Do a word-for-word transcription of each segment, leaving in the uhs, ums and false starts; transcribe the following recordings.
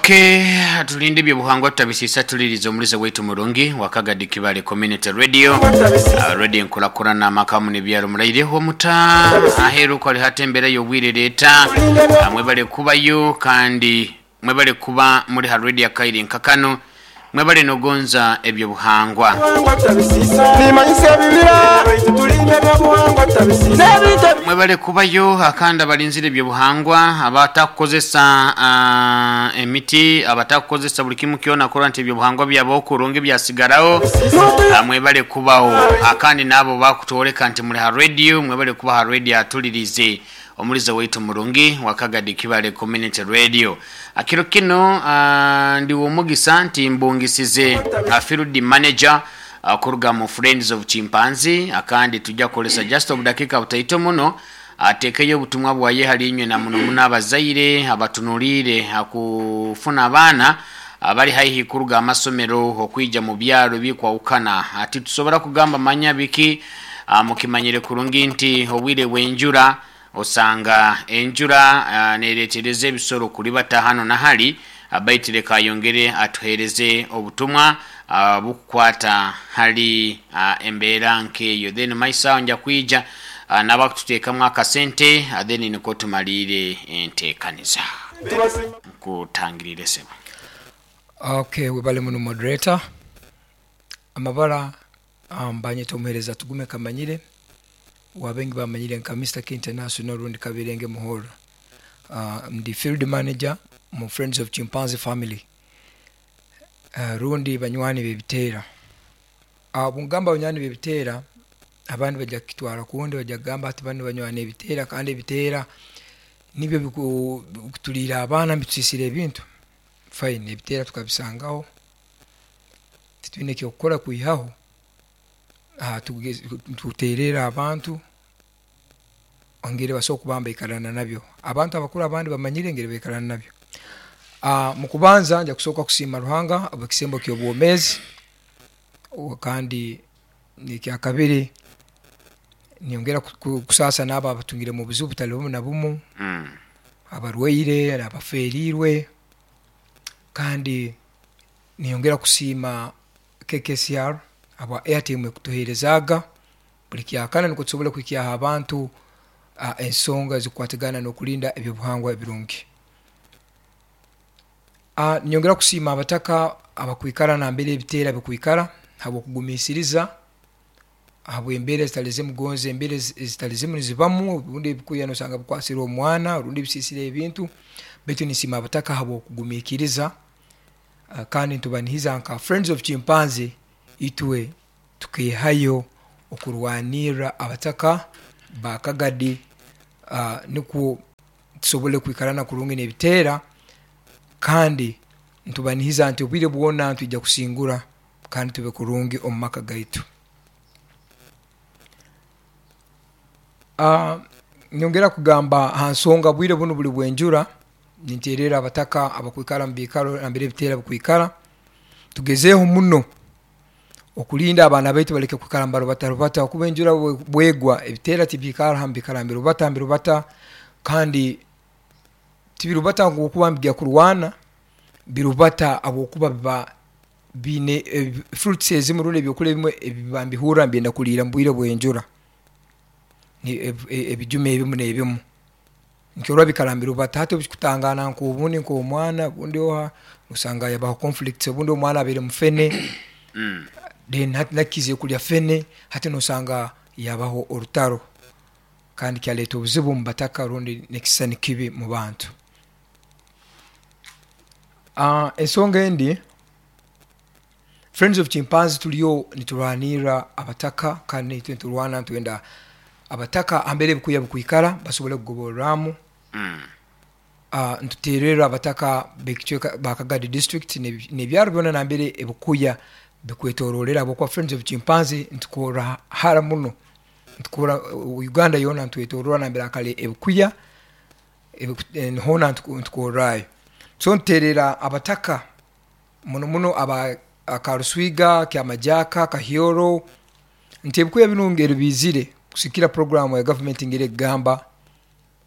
Okay, tulinde ebyobuhangwa tutabisiisa. Tuliriza omulize waitu murungi Wakagadi Kibale Community Radio, uh, radio enkulakulana amakamu nebyalo. Muraireho muta aheru kwali hata embeera y'obwire leeta? uh, mwebale kubayo kandi mwebale kuba muri ha radio akaire nkakano. Mwebale nogonza ebyobuhangwa. Nimanyisa ebibira baitu tulinde ebyobuhangwa tutabisiisa n'ebintu. Mwebale kubayo akandi abalinzire ebyobuhangwa, abatakukozesa uh, emiti, abatakukozesa buli kimu kyona kurora nti ebyobuhangwa byabo okurungi byasigaraho. uh, mwebale kubaho akandi nabo bakutworeka nti muri ha radio. Mwebale kuba ha radio atulirize omulizo waitu murungi Wakagadi Kibale Community Radio. Akiro kino uh, ndi womugisa nti mbungisize uh, field manager uh, kuruga mu Friends of Chimpanzee, akandi tujja kukolesa just obudakika butaito muno atekeyo obutumwa bwaye hali inywe na muno muno abazaire abatunuliire akufuna abaana abali haihi kuruga amasomero okwija mu byalo bikwawukana. Ati tusobora kugamba manya biki, uh, mukimanyire kurungi nti obwire bw'enjura osanga enjura uh, neretereza ebisoro kulibata hano na hali. Abaitire kayongere atuhereze obutumwa uh, bukukwata hali uh, embeera nkeyo, then maisa nja kwija uh, nabakututeekamu akasente, uh, then niko tumalire enteekaniza. Nkutangirire, sebo. Okay, webale muno, moderator. Amabara um, banyeta omuhereza Tugume Kamanyire, wabengi bamanyire nka Mister K International rundi Kabirenge Muhoro. uh, ndi field manager mu Friends of Chimpanzee Family, uh, rundi banywani bebiteera. uh, bungamba banywani bebiteera, abandi bajja kukitwara kundi, bajja kugamba ati bano banywani ebiteera kandi ebiteera nibyo biku- bikutuliira abaana, bitusisira ebintu. Fine, ebiteera tukabisangaho, titwine kyokukora kwihaho. Ah, tugeze- tuterera abantu ongere basobola okuba mbaikarana nabyo. Abantu abakuru abandi bamanyire engeri baikarana nabyo. Ah, mu kubanza nja kusooka kusiima Ruhanga obwekisembo ky'obwomeezi. O- kandi nekyakabiri nyongera ku- ku- kusaasa n'abo abatungire mu buzibu butali bumu na bumu, mm. abarwaire, abaferirwe. Kandi niyongera kusiima K K C R aba airtime ekutuheerezaaga buli kyakana nikwo tusobole kuhikyaho abantu uh, ensonga ezikukwatagana n'okulinda ebyobuhangwa ebirungi. uh, nyongera kusiima abataka abakwikara nambere ebiteera bikwikara habwokugumiisiriza, habwembeera ezitali zimu, gonza embeera ezi- ezitali zimu nizibamu, obundi ebikuya nosanga bikwasire omwana orundi bisiisire ebintu, baitu nisiima abataka habwokugumiikiriza. uh, kandi ntubanihiza nka Friends of Chimpanzee itwe tukehayo okurwanirra abataka bakagadi, uh, nikwo tusobole kwikarana kurungi n'ebiteera. Kandi ntubanihiza nti obwire bwona ntwijja kusingura kandi tube kurungi omu maka gaitu. uh, nyongera kugamba ha nsonga bwire bunu buli bwenjura, ninterera abataka abakwikara mu biikaro nambere ebiteera bikwikara, tugezeeho muno okulinda abaana baitu baleke kwikara mbarubatarubata, kuba enjura bwe- bwegwa ebiteera tibiikara hamu, biikara mbirubata mbirubata. Kandi tibirubata ngu okuba mbijja kurwana, birubata habwokuba biba biine eh, fruits ezimu rundi ebyokulya ebimwe ebiba mbihurra mbyenda kuliira mu bwire bw'enjura. Ni- eb- e- ebijuma ebimu n'ebimu nkyorora bikara mbirubata. Hati obukikutangana nk'obundi nk'omwana obundi oha osanga yabaho conflicts, obundi omwana abaire mufene, Mm. then hati nakize kulya fene, hati nosanga yabaho orutaro kandi kyaleeta obuzibu mu bataka rundi nekisisani kibi mu bantu. uh, ensonga endi, Friends of Chimpanzee tuliyo niturwanirra abataka, kandi nitwe niturwana nitwenda abataka ambere ebikuya bikwikara basobole kugoborramu. Mm. uh, ntutererra abataka bekicweka bakagadi district n'ebi- n'ebyaro byona nambere ebikuya bikwetororera, habwokuba Friends of Chimpanzee ntukorra hara muno, ntukora uh, Uganda yoona ntwetorora nambere akale ebikuya ebiku- eh, hoona ntuku- ntukorrayo. So ntuterera abataka muno muno aba Akaruswiga, Kyamajaka, Kahyoro nti ebikuya binu ngeri bizire kusikira programu ya gavumenti ngeri ekugamba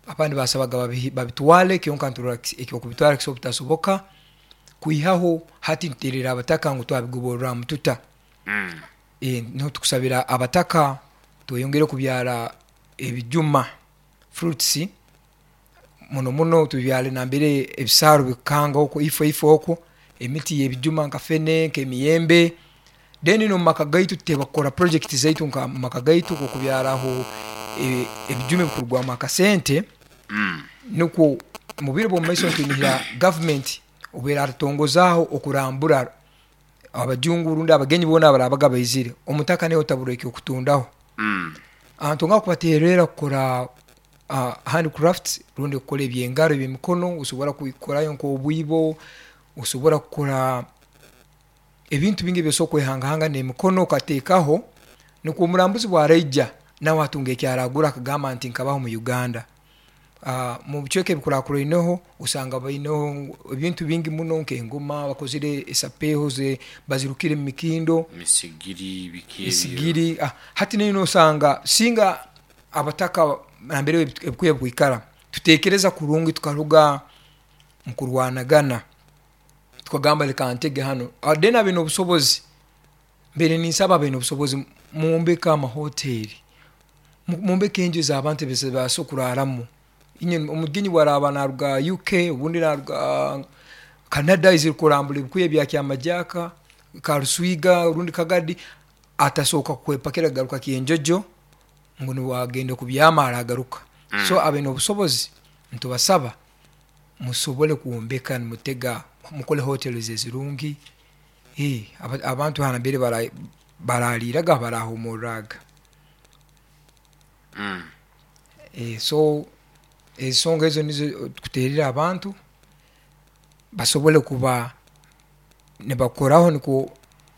abandi basabaga babihi- babitwale, kyonka nturora ekyo kubitwala kisobola butasoboka. Kwihaho hati ntuterera abataka ngu twabigoborra mututa. Mm. E, niho tukusabira abataka tweyongere kubyara ebijuma, fruits, muno muno tubyale nambere ebisaaru bikukanga okwo, ifo ifo okwo emiti y'ebijuma nka fene, nk'emiyembe. Then n'omu maka gaitu tuteekwa kukora project zaitu nka mu maka gaitu okubyaraho e, ebijuma ebikurugwamu akasente. Mm. Nukwo mu biro bw'omu maiso ntunihira gavumenti obu eratutongozaaho okurambura abajungu rundi abagenyi boona abarabaga baizire, omutaka niwe otabura ekyokutundaho. Mm. Ntonga kubatererra kukora uh, handcrafts rundi kukora ebyengaro, ebyemikono. Osobora kukorayo nk'obwibo, osobola kukora ebintu bingi ebyosobora kwehangahanga n'emikono okateekaho, nukwo omurambuzi bwaraija nawe atunga ekyaragura akagamba nti nkabaho mu Uganda. uh, mu bicweka ebikurakuraineho osanga baineho ebintu bingi muno nk'engoma bakozire, esapeeho ze bazirukire mu mikindo, misigiri, biki ebyo. Esigiri. ah, hati nayo nosanga singa abataka nambere ebikuya bikwikara tutekereza kurungi, tukaruga mukurwanagana, tukagamba leka ntege hano. Ah, then abaine obusobozi, mbere ninsaba abaine obusobozi mwombeke amahoteri, Mu- mwombeke enju ez'abantu ezibaasa kuraramu. Inye omugenyi bwaraba naruga U K obundi naruga Canada izire kurambura ebikuya bya Kyamajaka, Karuswiga rundi Kagadi, atasooka kwepakira kugaruka Kyenjojo ngu niwagenda kubyama aragaruka. Mm. So abaine obusobozi ntubasaba musobole kwombeka, nimutega, mukole hotels ezirungi. Eh, aba- abantu hanambere bara- baraliraga, barahumurraga. Mm. Eh, so ensonga ezo nizo tukuterera abantu basobole kuba nibakoraho, nukwo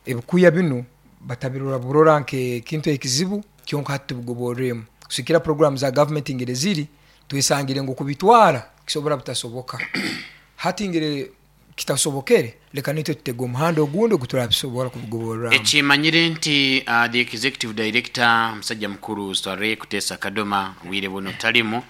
ebikuya binu batabirora burora nk'ekintu ekizibu kyonka. Hati tubigoborremu kusikira program za gavumenti ngeri ziri, twesangire ngu kubitwara kisobora butasoboka. Hati ngeri kitasobokere, leka nitwe tutege omuhanda ogundi oguturabisobora kubigoborramu. Ekimanyire nti uh, the executive director musajja mukuru Sware Kutesa Kadoma bwire buno talimu,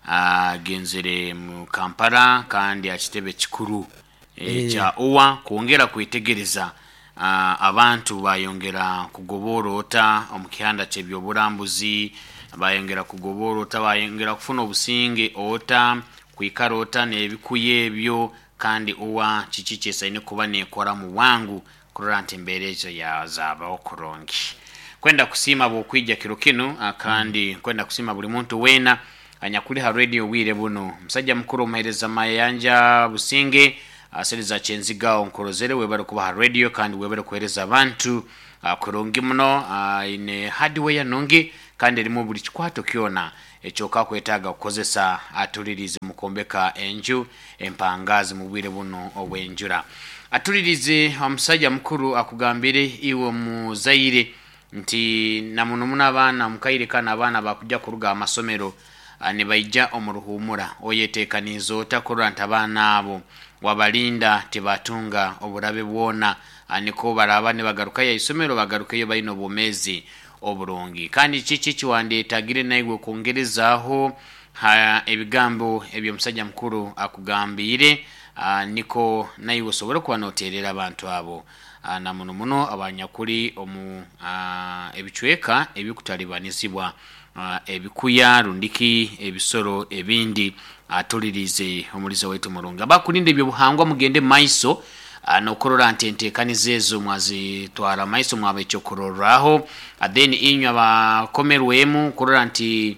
agenzere mu Kampala kandi akitebe kikuru Eh. ekya U A kwongera kwetegereza uh, abantu bayongera kugobora ota omu kihanda ky'ebyoburambuzi, bayongera kugobora ota, bayongera kufuna obusinge ota, kwikara ota n'ebikuya ebyo, kandi U A kiki kyesaine kuba nekora mu bwangu kurora nti embeera ezo yazabaho kurungi. Kwenda kusiima bwokwija kiro kinu, ah, kandi kwenda kusiima buli muntu weena anyakuli ha radio bwire buno. Musajja mukuru omuheereza Mayanja Businge asereza Kyenzigawo, nkorozere, webale kuba ha radio kandi webale kuheereza abantu ah, kurungi muno. ah, ine hardware nungi kandi erimu buli kikwato kyona ekyoka kwetaaga kukozesa. Atulirize mukombeka enju empangazi mu bwire buno obw'enjura. Atulirize omusajja mukuru akugambire iwe muzaire nti namuno muno abaana mukaire kano abaana bakujja kuruga amasomero, ah, nibaija omu ruhumura, oyetekaniize ota kurora nti abaana abo wabalinda tibatunga oburabe bwona, ah, niko baraba nibagarukayo aisomero bagarukeyo balina obwomeezi oburungi? Kandi kiki kiwandeetagire naiwe kwongerezaaho ha ebigambo ebyomusajja mukuru akugambiire, ah, niko naiwe osobole kuba noterera abantu abo, ah, na muno muno abanyakuli omu ah, ebicweka ebikutalibanizibwa ah, ebikuya rundiki ebisoro ebindi? Atulirize omulizo waitu murungi, abakulinda ebyobuhangwa, mugende maiso ah, nokurora nti enteekaniza ezo mwazitwara maiso, mwaba ekyokurorraho. Ah, then inywe abakomerwemu kurora nti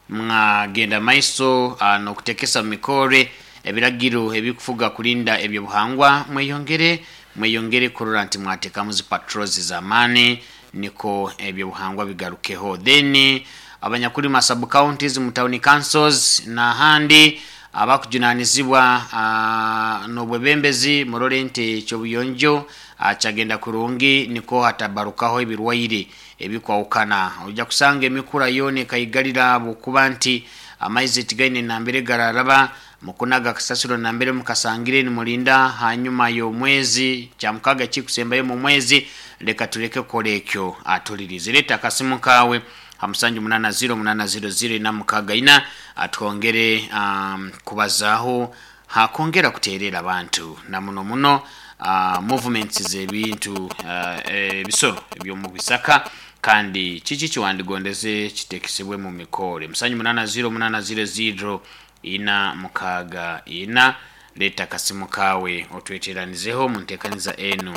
mwagenda maiso uh, nokutekesa mu mikore ebiragiro ebikufuga kulinda ebyobuhangwa, mweyongere mweyongere kurora nti mwatekamu zi patrols z'amaani niko ebyobuhangwa bigarukeho. Then abanyakuli ma sub counties, mu town councils n'ahandi abakujunanizibwa uh, n'obwebembezi, murole nti ekyobuyonjo uh, kyagenda kurungi niko hatabarukaho ebirwaire ebikwawukana. Ojja kusanga emikura yoona ekaigalira bwokuba nti amaizi tigaine nambere gararaba, mukunaga kasasiro nambere mukasangire nimulinda hanyuma y'omwezi kyamukaga kikusembayo mu mwezi. Leka tuleke kukola ekyo. Atulirize, leeta akasimu kaawe ha musanju munana zero munana zero zero ina mukaaga ina, atwongere um, kubazaaho. Hakongera kuterera abantu na muno muno uh, movements z'ebintu uh, ebisoro ebyomu bisaka, kandi kiki kiwandigondeze kitekesebwe mu mikore. Musanju munana zero munana zero zero ina mukaga ina. Leta kasimu kawe otweteranizeho mu nteekaniza enu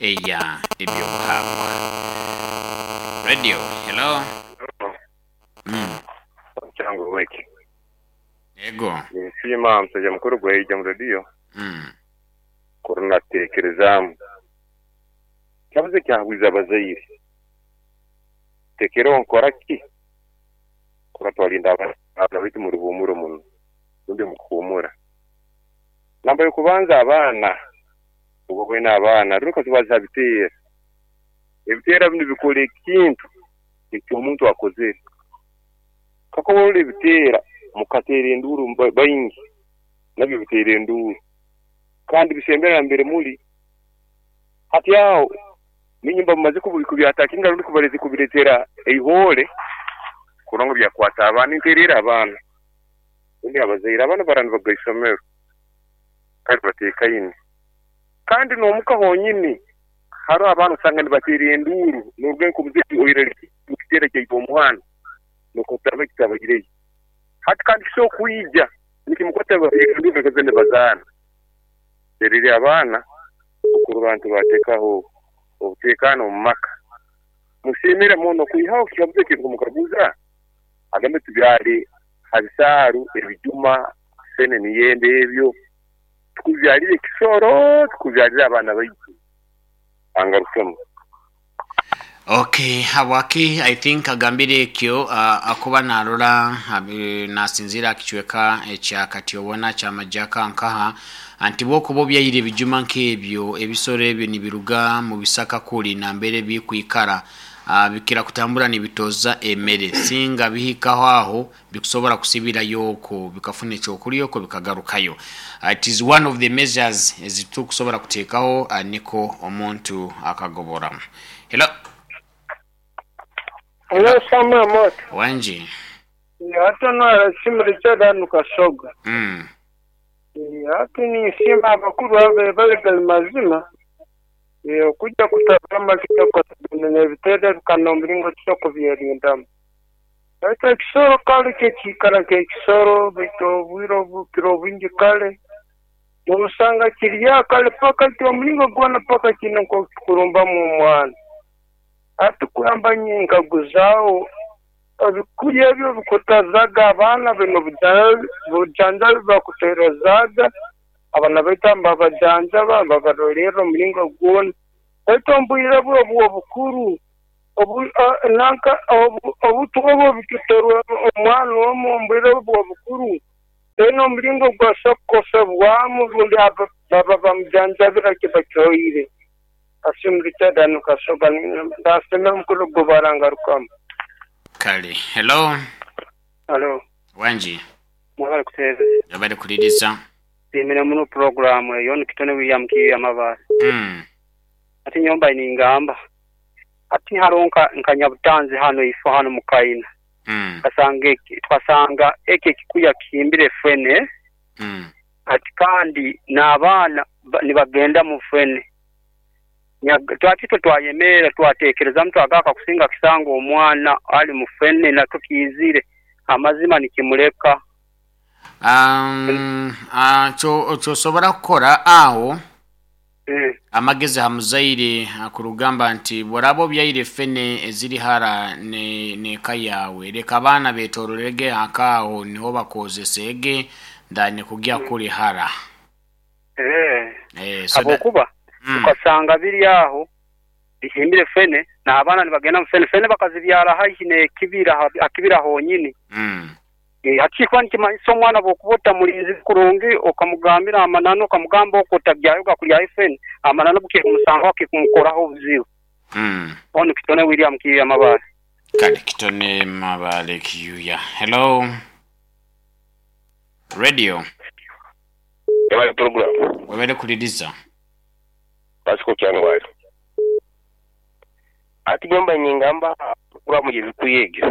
eya ebyobuhangwa radio. Hello. Mm. Chango weki. Ego. Nsiima msajja mukuru gweija mu radio. Mm. Korona tekerezamu. Kyabuze kyahwiza abazaire. Tekero nkora ki? Kora twalinda abana baitu mu ruhumuro muno. Rundi mu kuhumura. Namba yokubanza abaana. Ubwo bwena abaana ruka tubaza bitera. Ebitera bino bikora ekintu ekyo omuntu akozere. Kakobola ebitera mukatera enduru bayingi nabyo bitera enduru kandi bisembera mbere muri hati aho ninyumba mumaze kubyatakinga rundi kubarezi kubiretera eihole kurongo byakwata abana interera abana undi abazaira abana barani bagaisomero kandi batekaine kandi nomuka honyini haro abana usanga nibatera enduru n'urwenko muziki oirere kitera kyaito omuhana nokotaba kitabagireyo hati kandi so kuija nikimukwata enduru kazende bazana terere abana okuru bantu batekaho obutekano mu maka musimire muno kuihaho kibabuze kintu mukaguza agambe tubyali habisaru ebijuma sene niyende ebyo tukubyalire kisoro tukubyalire abana baitu angarukemo. Okay, hawaki I think agambire ekyo uh, akuba narora nasinzira kichweka ekya kati obona kya majaka nkaha anti bwokuba byayire ebijuma nk'ebyo ebisoro ebyo nibiruga mu bisaka kuli na mbere bikwikara uh, bikira kutambura nibitoza emere singa bihikaho aho bikusobora kusibira yoko bikafuna ekyokulya bikagarukayo. Uh, it is one of the measures ezitukusobora kuteekaho uh, niko omuntu akagobora. Hello. Hello, Samuel Moto. Wanji. Hata no simurichada nukasoga. Mm. Hata ni sima abakuru abe bali mazima. Eh kujja kutabama kitoko nebitera kanombiringo kitoko byerindamu. Hata kisoro kale kekikara kekisoro bito bwiro bukiro bingi kale. Usanga kiriya kale paka kyo gwana paka kino kurumba mu mwana. Atukuramba nyinga guzao ebikuya ebyo bikutazaga abana bino bujanjabi bakuterezaga abana baitamba bajanjaba babarolera omulingo gwona baitu mbwire bwo obwo bukuru obu nanka obutubo bituterwa omwana omu mbwire bwo bukuru eno omulingo gwasokosebwamu rundi baba bamujanjabira kibakyoire asimurita nukasoga ndasema mukuru gobarangarukamu. Kale. Hello. Hello. Wanji. Mwabale kuteze. Yabale kuliriza. Bimira muno programu eyo nikitone William Kiya Mabale. Mm. Ati nyomba iningamba. Ati haronka nkanyabutanzi hano ifo hano mukaina. Mm. Kasange twasanga eke kikuya kimbire fene. Mm. Ati kandi n'abana nibagenda mu fene. Twatito twayemera twatekereza mtu agaka kusinga kisango omwana ali mufene na tukizire amazima nikimuleka. Um ah cho chosobora kukora aho mm. Amagezi hamuzaire akurugamba nti borabo byaire fene eziri hara ne ne kayawe reka abana betororege akaho niho bakozesege ndane kugia kuri hara eh eh so abokuba Mm. Ukasanga biri aho bihimbire fene na abana nibagenda mu fene fene bakazibyara haihi ne kibira akibira honyini. Mm. E hakikwa nikimanyisa omwana bokubota mulinzi kurungi okamugambira amanano okamugamba okotabyayo gakulya fene amanano buke kumusanga akikumukoraho obuzibu. Mm. Ono kitone William Kiya Mabale. Kale kitone Mabale Kiyuya. Hello. Radio. Yabale program. Wabele kuliriza. Pasiko kyangwali. Ati nyomba nyingamba kura mugezi kuyege.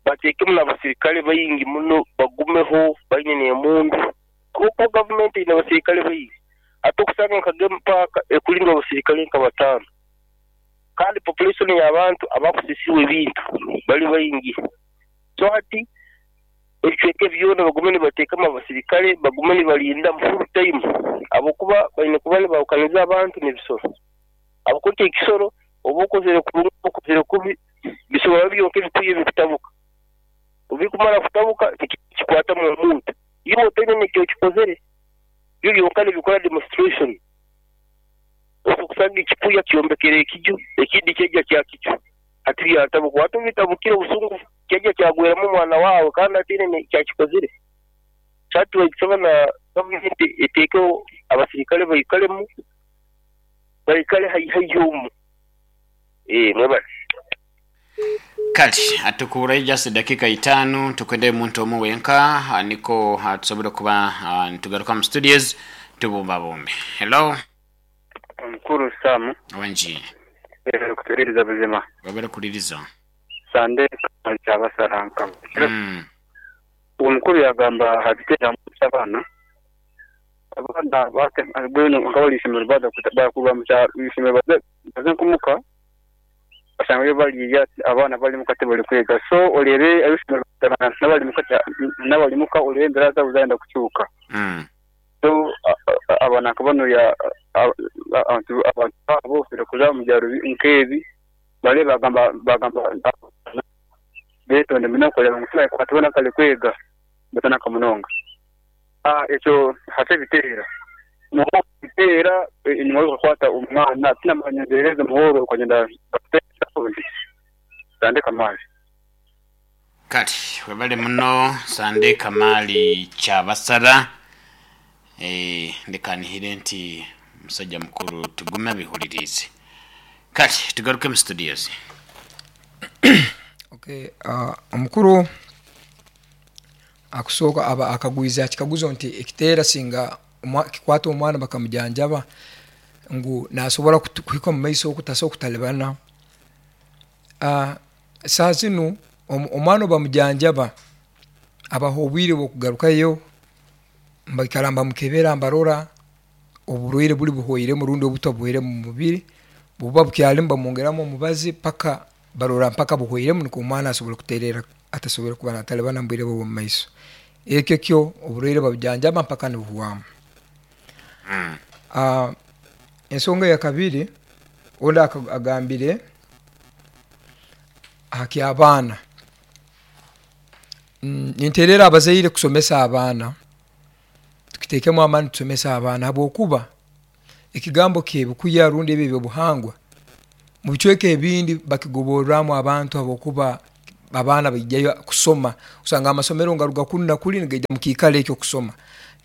Bateke muna basirikale bayingi muno bagumeho bayine ne mundu. Habwokuba gavumenti eine abasirikale baingi, ate okusanga nka Game Park ekulindwa abasirikale nka bataano, kandi population y'abantu abakusisirwa ebintu bali baingi. So hati ebicweka byona bagume nibateekamu abasirikale, bagume nibalinda full time, habwokuba baine kuba nibahukaniza abantu n'ebisoro. Habwokuba ekisoro oba okozere kurungi oba okozere kubi, bisobora byonka ebikwiye bikutabuka. Obu bikumara kutabuka tikikwatamu omuntu, iwe otaine n'eki okikozere, byo byonka nibikora demonstration. Okusanga ekikuya kyombekere ekiju, ekindi kyaija kyakicwa, hati byatabuka. Hati obu bitabukire obusungu kyaija kyagweramu omwana waawe kandi ataine n'eki akikozere. So hati nitusaba na gavumenti eteekeho abasirikale baikalemu, baikale haihi haihi omu. Eeh mwebale. Kale atukuburayo just dakika itaano, tukwende muntu omu wenka, ah, niko ah, tusobole kuba ah, nitugaruka mu studios tubumbabumbe. Hello. Omukuru Sam. Wangi. Kutuhuririza buzima. Wabere kuliriza. Sande kyabasaranka. Mm. Omukuru yagamba habitera abaana. Abaana bate gweno nkabali ishomero bada kuba mu kyaro ishomero baze nkumuka basanga yo bali abaana bali mu kate bali kwega. So olebe abishomero n'abali mu kate n'abali muka olebe embera zabo zagenda kukyuka. Mm. So abaana nkabano ya abantu abantu abo kuza mu byaro nkebi bale bagamba bagamba betonde muno koleba ngu kwatubona kale kwega batana kamunonga. Ah ekyo hate bitera muho bitera inyuma yo kwata umwana tinamanyereza muhoro kugenda Sande Kamali. Kati webale muno Sande Kamali Kyabasara. Eh ndekanihire nti musajja mukuru tugume bihulirize. Kati tugaruke mu studios. Okay, uh, omukuru akusooka aba akagwiza kikaguzo nti ekiteera singa kikwata omwana bakamujanjaba ngu nasobora kuhika mu maiso okutasa okutalibana. Uh, saa zinu omwana bamujanjaba abaho obwire bw'okugarukayo baikara bamukebera mbarora oburwaire buli buhwairemu rundi obutwa buhwairemu mu mubiri, buba bukyalimu bamwongeramu omubazi paka barora mpaka buhwairemu nukwo omwana asobora kuterera atasobora kuba natalibana mu bwire bwe mu maiso. Ekyo kyo oburwaire babujanjaba mpaka nibuhwamu. Mm. Uh, ensonga ya kabiri ondi agambire haki abaana. Mm, ninterera abazaire kusomesa abaana, tukitekemu amaani tusomesa abaana habwokuba ekigambo kyebikuya rundi ebyo ebyobuhangwa mu bicweka ebindi bakigoborramu abantu habwokuba abaana baijayo kusoma, osanga amasomero ngaruga kunu na kuli nigaija mu kiikaro ekyo kusoma.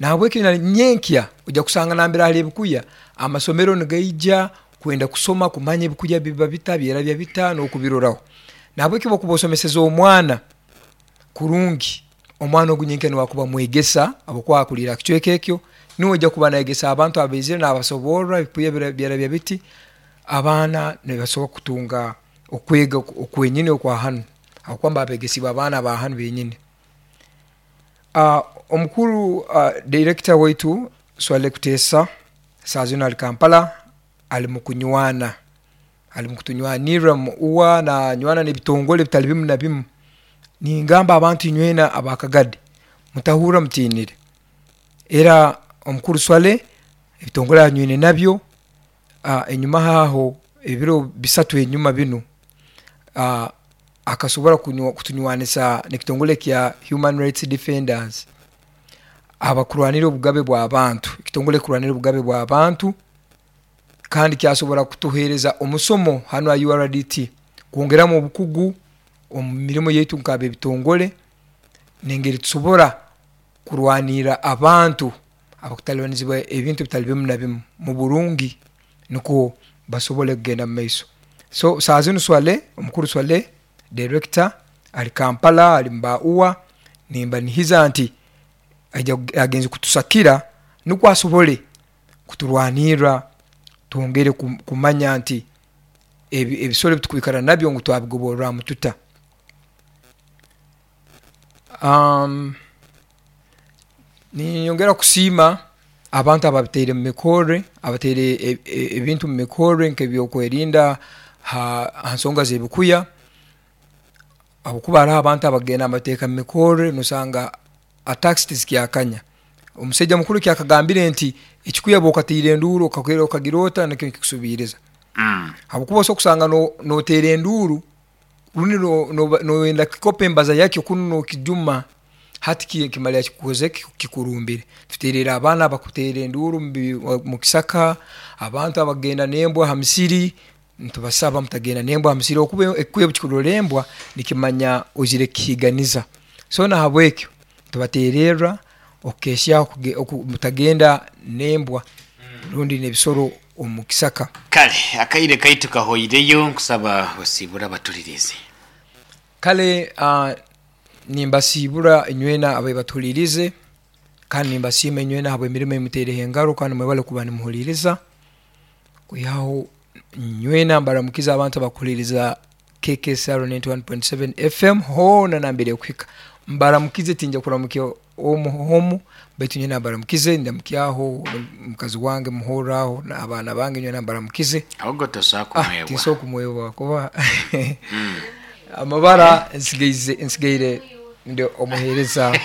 Nahabwekyo nyenkya ojja kusanga nambere hali ebikuya amasomero nigaija kwenda kusoma kumanya ebikuya biba bita byerabya bita n'okubiroraho. Nahabwekyo bwokuba osomeseza omwana kurungi, omwana ogu nyenkya niwakuba mwegesa habwokuba akulira kicweka ekyo, niwe ojja kuba nayegesa abantu abaizire n'abasoborra ebikuya byerabya biti, abaana nibasobora kutunga okwega okwenyini okwa hanu habwokuba babegesibwa abaana ba hanu benyini. Uh, omukuru uh, director waitu Swale Kutesa saa zino ali Kampala, ali mu kunywana, ali mu kutunywanirra uwa na nywana n'ebitongole bitali bimu na bimu. Ningamba abantu inywena abakagadi mutahurra mutinire, era omukuru Swale ebitongole anywine nabyo. Uh, enyuma haho ebiro bisatu enyuma binu uh, akasobora kutunywanisa n'ekitongole kya Human Rights Defenders abakurwanira obugabe bw'abantu, ekitongole kurwanira obugabe bw'abantu, kandi kyasobora kutuhereza omusomo hanu a U R D T kwongeramu obukugu omu mirimo yaitu nk'ab'ebitongole n'engeri tusobora kurwanira abantu abakutalibanizibwa ebintu bitali bimu na bimu mu burungi nukwo basobole kugenda mu maiso. So saa zinu Swale, omukuru Swale director ali Kampala, ali Mbaua, nimba nihiza nti agenze kutusakira nukwo asobole kuturwanirra twongere kumanya nti ebisoro ebitukwikara nabyo ngu twabigoborramu tuta. Um, Ninyongera kusiima abantu ababiteire mu mikorre, abateire e- e- ebintu mu mikorre nk'ebyokwerinda ha ha nsonga z'ebikuya, habwokuba haroho abantu abagenda nibateeka mu mikorre nosanga attacks tizikyakanya. Omusaija mukuru kyakagambire nti ekikuya bw'okatiire enduuru okagira okagira ota nikyo nikikusubiiriza. Mm. Habwokuba osobola kusanga no- noteera enduuru rundi no- noba- noyenda kikopa embaza yakyo kunu nokijuma, hati ki- kimalira kikukoze ki- kikurumbire. Tuteerera abaana abakuteera enduuru mu bi- mu kisaka, abantu abagenda n'embwa ha misiri, nitubasaba mutagenda n'embwa ha misiri okuba ekikuya obu kikurora embwa nikimanya oizire kukihiiganiza. So nahabwekyo tubateererra okukehyaho kuge- oku- mutagenda n'embwa rundi n'ebisoro omu kisaka. Kale akaire kaitu kahoireyo, nkusaba osiibura abatulirize. Kale uh, nimbasiibura inywena abebatuhulirize, kandi nimbasiima inywena habw'emirimo emuteereho engaro, kandi mwebale kuba nimuhuliriza. Kwihaho nywena mbaramukiza abantu abakuhuliriza K K S R ninety-one point seven F M hoona nambere kuhika. Mbaramukize, tinja kuramukya omu homu, baitu nywena mbaramukize, ndamukyaho mukazi wange muhoraho n'abaana bange nywena mbaramukize. Ahubwo tosobola Ah, kumwebwa. tinsobola kumwebwa kuba amabara nsigaize, nsigaire ndi omuheereza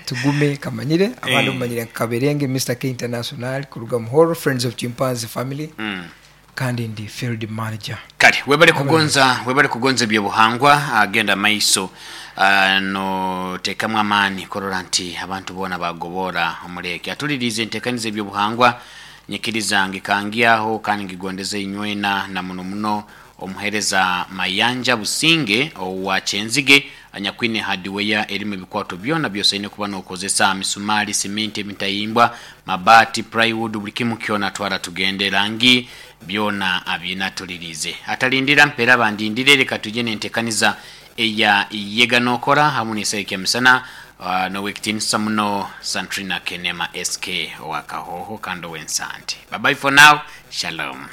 Tugume Kamanyire, abandi Eh. mumanyire nka Kaberenge Mister K International kuruga Muhoro Friends of Chimpanzee Family. Mm. Kandi ndi field manager. Kale webale kugonza, webale kugonza ebyobuhangwa, agenda maiso, ah, no tekamu amaani korora nti abantu boona bagobora omuleke atulirize entekaniza ebyobuhangwa nyikiriza ngikangiaho kandi ngigondeze inywena na muno muno omuhereza Mayanja Businge owa Kyenzige anyakwine hardware erimu ebikwato byona byosaine kuba nokozesa misumari, simenti, emitayimbwa, mabati, plywood, buli kimu kyona twara tugende rangi byona abinatulirize. Atalindira mpera bandindire, reka tujye nentekaniza eya yega nokora hamu n'esaiki ya misana, uh, nowekitinisa muno Santrina Kenema S K owa Kahoho kandi ow'Ensante. Bye bye for now. Shalom.